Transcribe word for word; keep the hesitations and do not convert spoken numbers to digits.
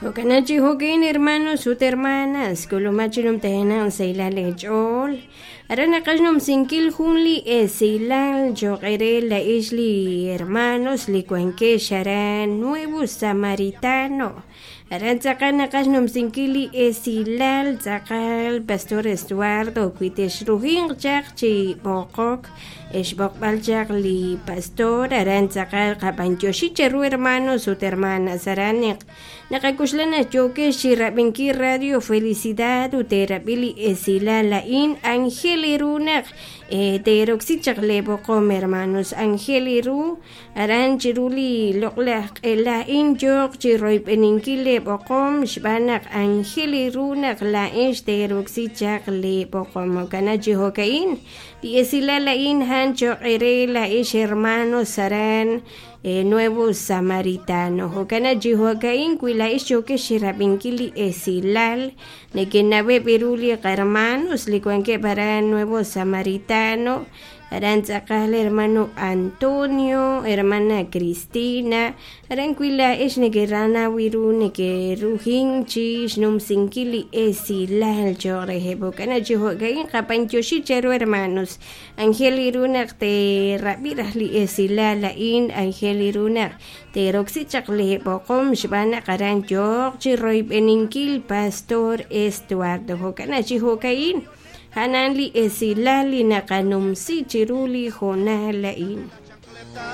Jo'kanachi jo'kin hermanos ut hermanas k'ulumachi numtajenaq saylal eech'ool aran naqaj numsinkil jun li esilal choq' re la'ix li hermanos li wankex aran Nuevo Samaritano aran tz'aqal naqaj numsinkil li esilal tz'aqal Pastor Estuardo wi texrujinq chaq chi b'oqok xb'oqb'al chaq li pastor aran tz'aqal qab'antioxi cheru hermanos ut hermanas aran naq naqakuxlan yookex chi rab'inkil Radio Felicidad ut terab'i li esilal la'in Angel iru naq teroksi chaq le b'oqom hermanos Angel iru aran chiru li loq'laj q'ela'in yooq chi royb'eninkil le b'oqom xb'aan naq Angel iru naq la'in xteroksi chaq le b'oqom jo'kana chi jo'ka'in li esilal la'in han choq' re la'ix hermanos aran eh, Nuevo Samaritano jo'kana chi jo'ka'in wi la'ix yookex xirab'inkil li esilal neke'naweb' iru li qarmanos li wankeb' aran Nuevo Samaritano aran tz'aqal hermano Antonio, hermana Cristina, aran wi la'ix neke'ranaw iru neke'rujin chi xnumsinkil li esilal choq' reheb' jo'kana chi jo'ka'in qab'antioxi cheru hermanos Angel iru naq terab'i raj li esilal la'in Angel iru naq teroksi chaq li b'oqom xb'aan naq aran yooq chi royb'eninkil Pastor Estuardo jo'kana chi jo'ka'in hanan li esilal li naqanumsi chiru li jonal la'in.